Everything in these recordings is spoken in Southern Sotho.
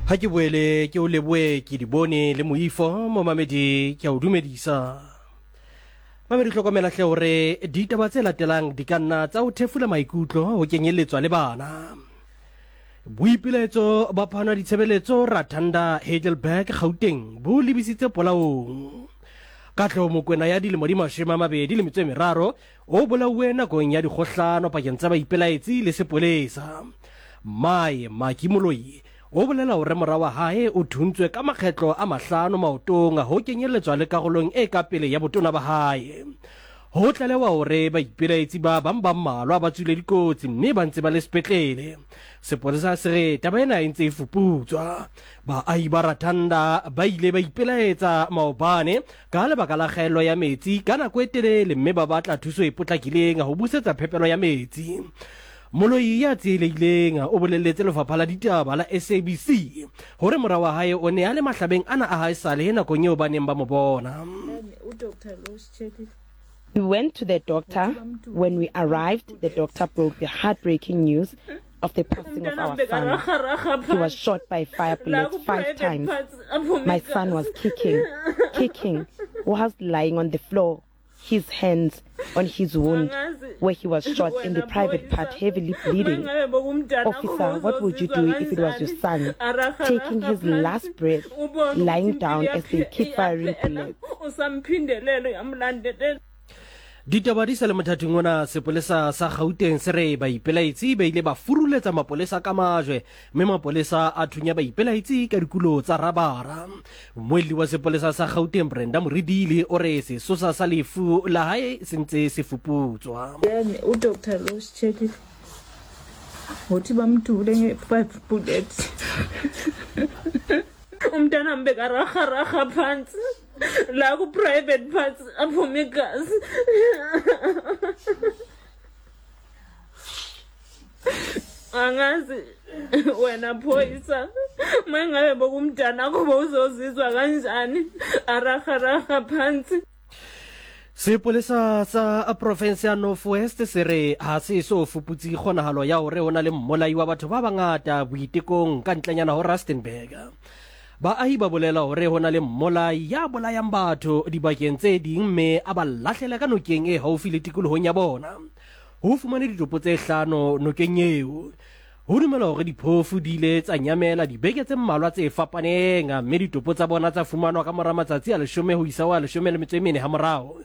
Ga ke boele ke o leboe ke di bone le moifo momamedi ke a o dumedisa. Mamedi hlokomela hle hore ditaba tse latelang di ka nna tsa o thefula maikutlo ho kenyelletswa le bana. Boipilaetso ba phano ya ditshebeletso Rathanda Heidelberg Gauteng bo lebisitse polaong. Katleho Mokwena ya dilemo di 23 o bolauwe nakong ya dikgohlano pakeng tsa baipelaetsi le sepolesa. Mmae, Maki Moloi, o bolela hore mora wa hae o thuntswe ka makgetlo a mahlano maotong ho kenyelletswa le karolong e ka pele ya botona ba hae. Ho tlalewa hore baipelaetsi ba bang ba mmalwa ba tswile dikotsi mme ba ntse ba le sepetlele. Sepolesa se re taba ena e ntse e fuputswa. Baahi ba Rathanda ba ile ba ipelaetsa maobane ka lebaka la kgaello ya metsi ka nako e telele mme ba batla thuso e potlakileng ho busetsa phepelo ya metsi. Moloi ya tsielehileng o bolelletse lefapha la ditaba la SABC hore mora wa hae o ne a le mahlabeng ana a haesale nakong eo ba neng ba mo bona. We went to the doctor. When we arrived, the doctor broke the heartbreaking news of the passing of our son. He was shot by fire bullets five times. My son was kicking, kicking, whilst lying on the floor, his hands on his wound where he was shot in the private part, heavily bleeding. Officer, what would you do if it was your son taking his last breath, lying down as they keep firing bullets? Ditaba di sa le mothating ona, sepolesa sa Gauteng se re baipelaetsi ba ile ba furuletsa mapolesa ka majwe mme mapolesa a thunya baipelaetsi ka dikulo tsa rabara. Mmuelli wa sepolesa sa Gauteng Brenda Muridili o re sesosa sa lefu la hae se ntse se fuputswa. Then udoctor lo usitshelile ngokuthi bamdubule nge-five bullet umntanami bekararhararha phansi la ku-private parts aphume igazi angazi wena phoyisa uma ngabe bokumntanakho bowuzozizwa kanjani ararhararha phansi Sepolesa sa profense ya North West se re ha se so fuputse kgonagalo ya hore ho na le mmolai wa batho ba bangata boitekong ka ntlenyana ho Rustenburg. Baahi ba bolela hore ho na le mmolai ya bolayang batho dibakeng tse ding mme a ba lahlela ka nokeng e haufi le tikolohong ya bona. Ho fumanwe ditopo tse hlano nokeng eo. Ho dumelwa hore diphofu di ile tsa nyamela dibeke tse mmalwa tse fapaneng mme ditopo tsa bona tsa fumanwa ka mora matsatsi a leshome ho isa ho a 14 hamorao.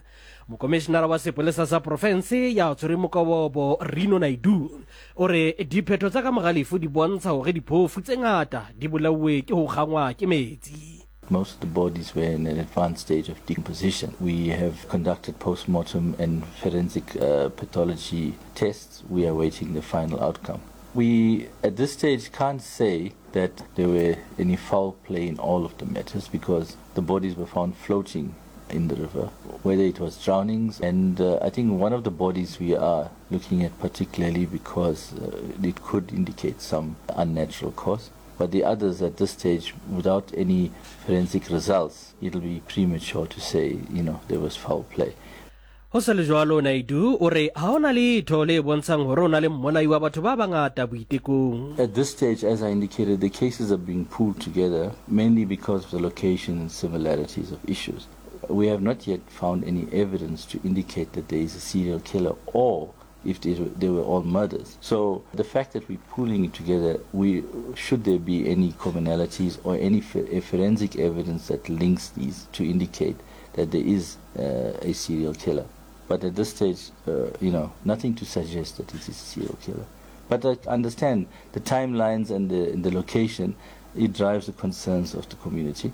Mokomishinara wa sepolesa sa profense ya tshwereng mokobobo Rino Naidoo o re diphetho tsa ka mora lefu di bontsha hore diphofu tse ngata di bolauwe ke ho kgangwa ke metsi. Most of the bodies were in an advanced stage of decomposition. We have conducted post-mortem and forensic uh, pathology tests. We are awaiting the final outcome. We, at this stage, can't say that there were any foul play in all of the matters because the bodies were found floating in the river, whether it was drownings. And uh, I think one of the bodies we are looking at particularly because uh, it could indicate some unnatural cause. But the others at this stage, without any forensic results, it'll be premature to say, you know, there was foul play. Ho sa le jwalo, Naidoo o re ha ho na letho le bontshang hore ho na le mmolai wa batho ba bangata boitekong. At this stage, as I indicated, the cases are being pooled together mainly because of the location and similarities of issues. We have not yet found any evidence to indicate that there is a serial killer or if they, they were all murders. So the fact that we're pooling it together, we should there be any commonalities or any forensic evidence that links these to indicate that there is uh, a serial killer. But at this stage, uh, you know, nothing to suggest that it is a serial killer. But I understand the timelines and the, and the location, it drives the concerns of the community.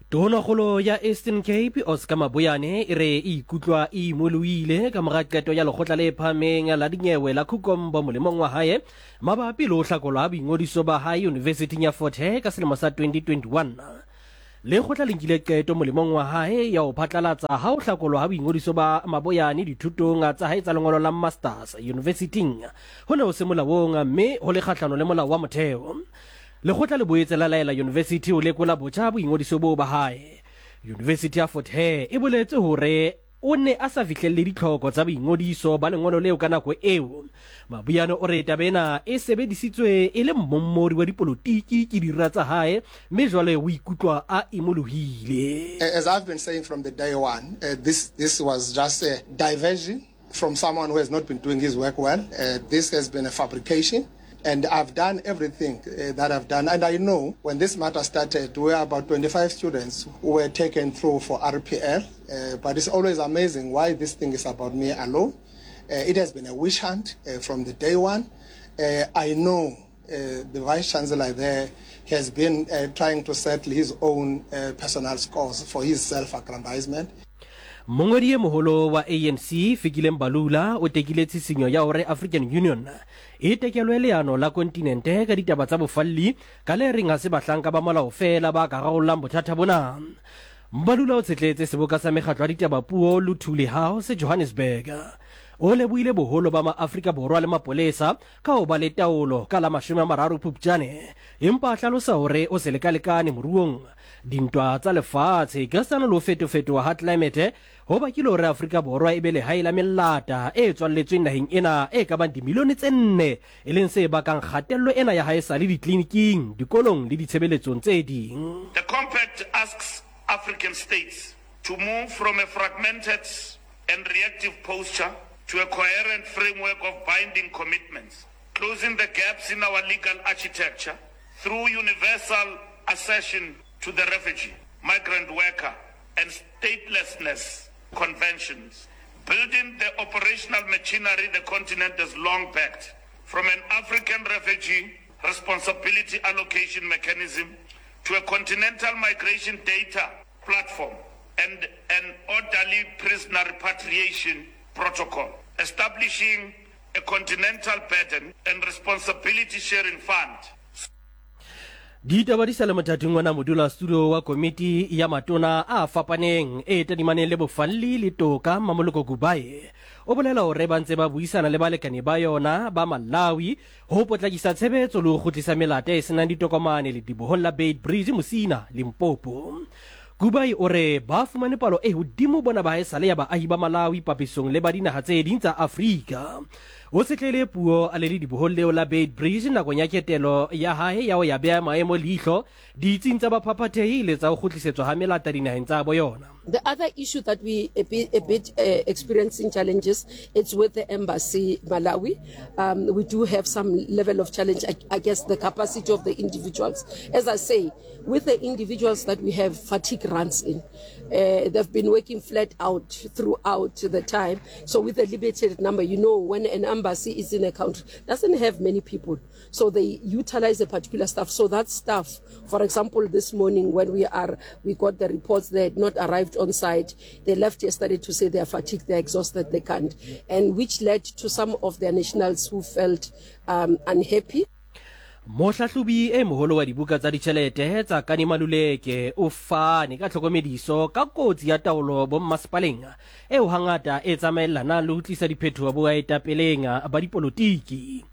Tonakgolo ya Eastern Cape Oscar Mabuyane e re e ikutlwa e imoloile ka mora qeto ya lekgotla le phahameng la dinyewe la Khukombo molemong wa hae mabapi le ho hlakolwa ha boingodiso ba hae Yunivesithing ya Fort Hare ka selemo sa 2021. Lekgotla le nkile qeto molemong wa hae ya ho phatlalatsa ha ho hlakolwa ha boingodiso ba Maboyane dithutong tsa hae tsa lengolo la Masters yunivesithing ho ne ho se molaong mme ho le kgahlano le molao wa motheo. Lekgotla le boetse la laela yunivesithi ho lekola botjha boingodiso boo ba hae. Yunivesithi ya Fort Hare e boletse hore o ne a sa fihlelle ditlhoko tsa boingodiso ba lengolo leo ka nako eo. Mabuyane o re taba ena e sebedisitswe e le mmommori wa dipolotiki ke dira tsa hae mme jwale o ikutlwa a imolohile. As I've been saying from the day one, this, this was just a diversion from someone who has not been doing his work well. This has been a fabrication. And I've done everything that I've done. And I know when this matter started, we were about 25 students who were taken through for RPL. Uh, but it's always amazing why this thing is about me alone. Uh, it has been a witch hunt uh, from the day one. Uh, I know uh, the vice chancellor there has been uh, trying to settle his own uh, personal scores for his self-aggrandizement. Mongwedi e moholo wa ANC Fikile Mbalula o tekile tshisinyo ya hore African Union e tekelwe leano la kontinente ka ditaba tsa bofalli ka le reng ha se bahlanka ba molao feela ba ka rarollang bothata bona. Mbalula o tshetletse seboka sa mekgatlo ya ditaba puo Luthuli House Johannesburg. O lebohile boholo ba maAfrika Borwa le mapolesa ka ho ba le taolo ka la 30 Phupjane, empa a hlalosa hore o se lekalekane moruong. Dintwa tsa lefatshe, ekasitana le ho fetofetoha ha tlelaemete, ho bakile hore Afrika Borwa e be lehae la melata e tswalletsweng naheng ena e ka bang dimilione tse nne, e leng se bakang kgatello ena ya haesale ditleliniking, dikolong le ditshebeletsong tse ding. The Compact asks African states to move from a fragmented and reactive posture to a coherent framework of binding commitments, closing the gaps in our legal architecture through universal accession to the refugee, migrant worker and statelessness conventions, building the operational machinery the continent has long backed, from an African refugee responsibility allocation mechanism to a continental migration data platform and an orderly prisoner repatriation protocol, establishing a continental burden and responsibility sharing fund. Ditaba di sa le mothating ona modulasetulo wa komiti ya matona a fapaneng e tadimaneng le bofalli le toka Mmamoloko Kubayi o bolela hore ba ntse ba buisana le balekane ba yona ba Malawi ho potlakisa tshebetso le ho kgutlisa melata e senang ditokomane ledibohong la Beitbridge Musina, Limpopo. Kubayi o re ba fumane palo e hodimo bona ba haesale ya baahi ba Malawi papisong le ba dinaha tse ding tsa Afrika. O tshetlehile puo a le ledibohong leo la Beitbridge nakong ya ketelo ya hae ya ho ya beha maemo leihlo ditsing tsa baphaphathehi le tsa ho kgutlisetswa ha melata dinaheng tsa bo yona. The other issue that we a bit, a bit uh, experiencing challenges, it's with the embassy Malawi. Um, we do have some level of challenge, I, I guess the capacity of the individuals. As I say, with the individuals that we have, fatigue runs in. Uh, they've been working flat out throughout the time. So with a limited number, you know, when an embassy is in a country, doesn't have many people. So they utilize a particular staff. So that staff, for example, this morning when we are, we got the reports they had not arrived on site. They left yesterday to say they are fatigued, they're exhausted, they can't. And which led to some of their nationals who felt um, unhappy. Mohlahlobi e moholo wa dibuka tsa ditjhelete tsa Kani Maluleke o fane ka tlhokomediso ka kotsi ya taolo bommasepaleng eo hangata e tsamaellanang le ho tlisa diphetoho boetapeleng ba dipolotiki.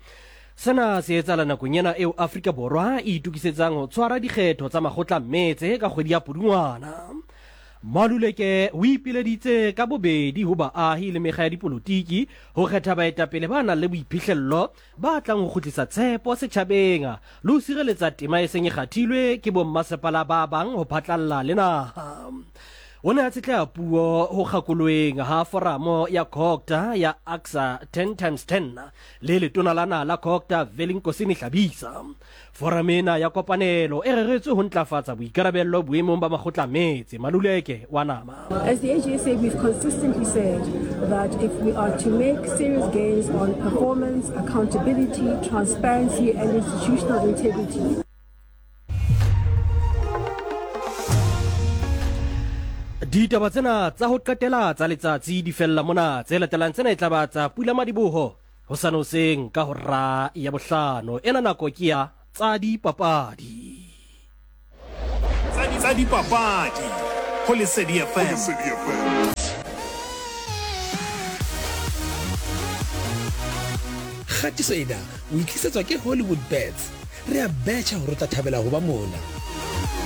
Sena se etsahala nakong ena eo Afrika Borwa e itokisetsang ho tshwara dikgetho tsa makgotla metse ka kgwedi ya Pudungwana. Maluleke o ipileditse ka bobedi ho baahi le mekga ya dipolotiki ho kgetha baetapele ba nang le boiphihlello ba tlang ho kgutlisa tshepo setjhabeng le ho sireletsa tema e seng e kgathilwe ke bommasepala ba bang ho phatlalla le naha. O ne a tshetleha puo ho kgakoloeng ha foramo ya Cogta ya AGSA 10 times 10 le letona la naha la Cogta Velinkosini Hlabisa. Foramo ena ya kopanelo e reretswe ho ntlafatsa boikarabello boemong ba makgotla a metse. Maluleke wa nama. As the AGSA, we've consistently said that if we are to make serious gains on performance, accountability, transparency and institutional integrity, Ditaba tsena tsa ho qetela tsa letsatsi di fella mona. Tse latelang tsena e tla ba tsa Pulamadiboho hosane hoseng ka hora ya bohlano. Ena nako ke ya tsa dipapadi. Tsa dipapadi go Lesedi FM. Kgatiso ena o e tlisetswa ke Hollywood Bets. Re a betjha hore o tla thabela ho ba mona.